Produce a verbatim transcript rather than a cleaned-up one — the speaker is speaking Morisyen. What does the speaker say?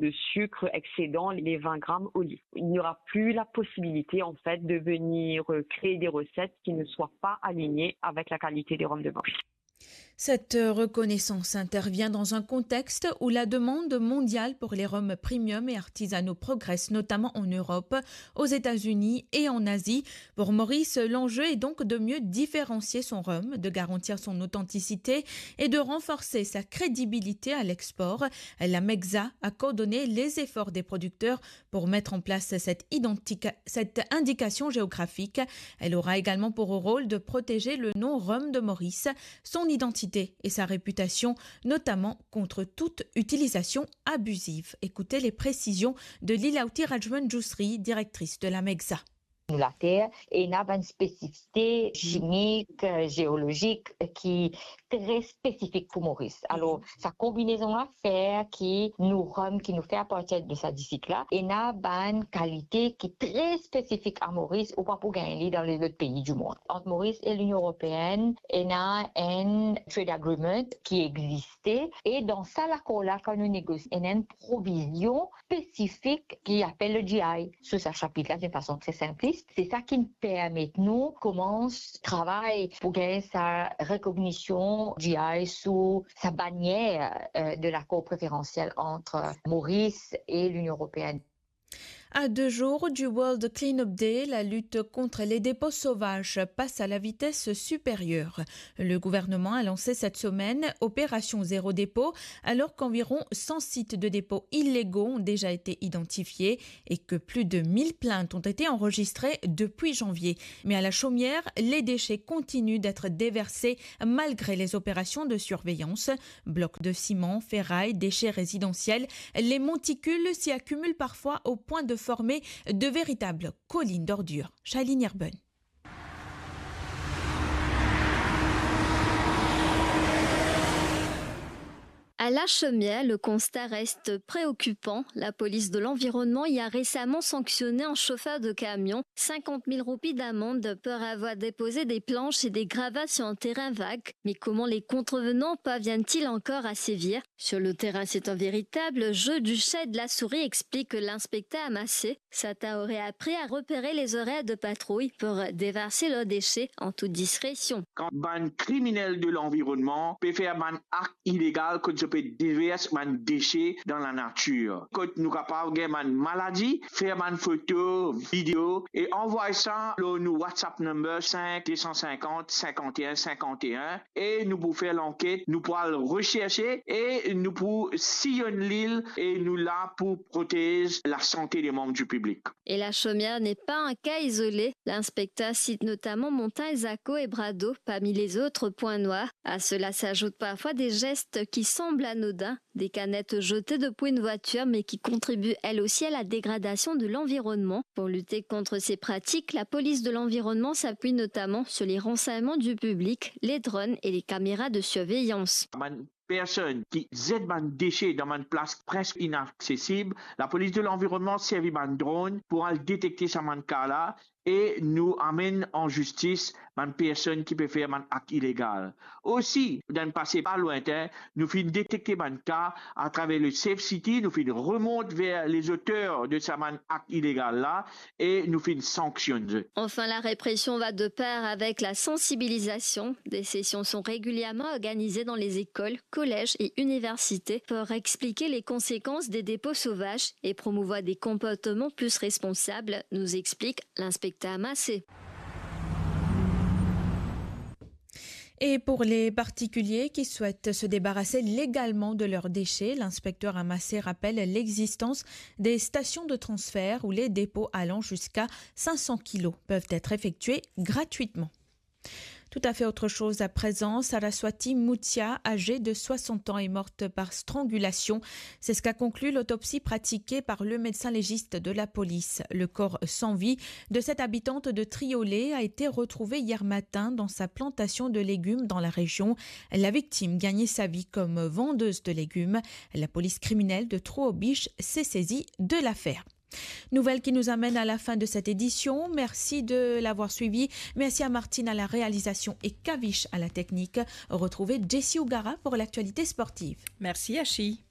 de sucre excédant les vingt grammes au litre. Il n'y aura plus la possibilité, en fait, de venir, euh, créer des recettes qui ne soient pas alignées avec la qualité des rhums de Maurice. Cette reconnaissance intervient dans un contexte où la demande mondiale pour les rhums premium et artisanaux progresse, notamment en Europe, aux États-Unis et en Asie. Pour Maurice, l'enjeu est donc de mieux différencier son rhum, de garantir son authenticité et de renforcer sa crédibilité à l'export. La MEXA a coordonné les efforts des producteurs pour mettre en place cette identica-, cette indication géographique. Elle aura également pour rôle de protéger le nom rhum de Maurice, son identité et sa réputation, notamment contre toute utilisation abusive. Écoutez les précisions de Lilaouti Rajman Djousri, directrice de la MEXA. Nou later, ena bann spesifisite chimik, eh, zeolozik, eh, ki tre spesifik pou Moris. Alor, sa konbinezon la fer ki nou rom ki nou fer apartir de sa disik la, ena bann kalite ki tre spesifik a Moris, ou pa pou gagn li dan lezot pei dimond. Ant Moris e Linion Eropeenn, ena enn trade agreement ki existe, e dan sa lakor la, kan nou negosie, ena enn provizion spesifik ki apel le G I. Sou sa sapit la, de fason tre sinplis, se sa ki permet nou koumans travay pou gagn sa rekognision G I sou sa banier, eh, de lakor preferansiel ant Moris e Linion Eropeenn. À deux jours du World Cleanup Day, la lutte contre les dépôts sauvages passe à la vitesse supérieure. Le gouvernement a lansé cette semaine Opération Zéro Dépôt, alors qu'environ cent sites de dépôts illégaux ont déjà été identifiés et que plus de mille plaintes ont été enregistrées depuis janvier. Mais à la Chaumière, les déchets continuent d'être déversés malgré les opérations de surveillance. Blocs de ciment, ferraille, déchets résidentiels, les monticules s'y accumulent parfois au point de former de véritables collines d'ordures. Shailene Erben. À La Chaumière, le constat reste préoccupant. La police de l'environnement y a récemment sanctionné un chauffeur de camion, cinquante mille roupies d'amende pour avoir déposé des planches et des gravats sur un terrain vague. Mais comment les contrevenants parviennent-ils encore à sévir ? Sur le terrain, c'est un véritable jeu du chat et de la souris, explique l'inspecteur Amassé. Certains auraient appris à repérer les horaires de patrouille pour déverser leurs déchets en toute discrétion. Kan bann kriminel de lanvironnman pe fer bann akt ilegal kot zot pe devers bann dese dan lanatir, kot nou kapav gagn bann maladi, fer bann foto, video e anvway sa lor nou WhatsApp number cinq deux cent cinquante cinquante et un cinquante et un, e nou pou fer lanket, nou pou al reserse e nou pou sillonn lil e nou la pou protez lasante de manm di piblik. Et La Chaumière n'est pas un cas isolé. L'inspecteur cite notamment Montagne Zaco et Brado parmi les autres points noirs. À cela s'ajoutent parfois des gestes qui semblent anodins, des canettes jetées depuis une voiture mais qui contribuent elles aussi à la dégradation de l'environnement. Pour lutter contre ces pratiques, la police de l'environnement s'appuie notamment sur les renseignements du public, les drones et les caméras de surveillance. Bann personn ki zet bann dese dan bann plas preske inaksesib, lapolis de lanvironnman servi bann dron pou al detekte sa bann ka la e nou amenn an zistis bann personn ki pe fer bann akt ilegal. Osi, dan pase pa lwintin, nou finn detekte bann ka atraver le Safe City, nou finn remont ver les auteurs de sa bann akt ilegal la e nou finn sanksionn zot. Enfin, la répression va de pair avec la sensibilisation. Des sessions sont régulièrement organisées dans les écoles, collèges et universités pour expliquer les conséquences des dépôts sauvages et promouvoir des comportements plus responsables, nous explique l'inspecteur Amassé. Et pour les particuliers qui souhaitent se débarrasser légalement de leurs déchets, l'inspecteur Amassé rappelle l'existence des stations de transfert où les dépôts allant jusqu'à cinq cents kilos peuvent être effectués gratuitement. Tout à fait autre chose à présent, Saraswati Muthia, âgée de soixante ans, est morte par strangulation. C'est ce qu'a conclu l'autopsie pratiquée par le médecin légiste de la police. Le corps sans vie de cette habitante de Triolet a été retrouvé hier matin dans sa plantation de légumes dans la région. La victime gagnait sa vie comme vendeuse de légumes. La police criminelle de Troobiche s'est saisie de l'affaire. Nouvelle qui nous amène à la fin de cette édition. Merci de l'avoir suivi. Merci à Martine à la réalisation et Kavish à la technique. Retrouvez Jessie Ougara pour l'actualité sportive. Merci, Ashi.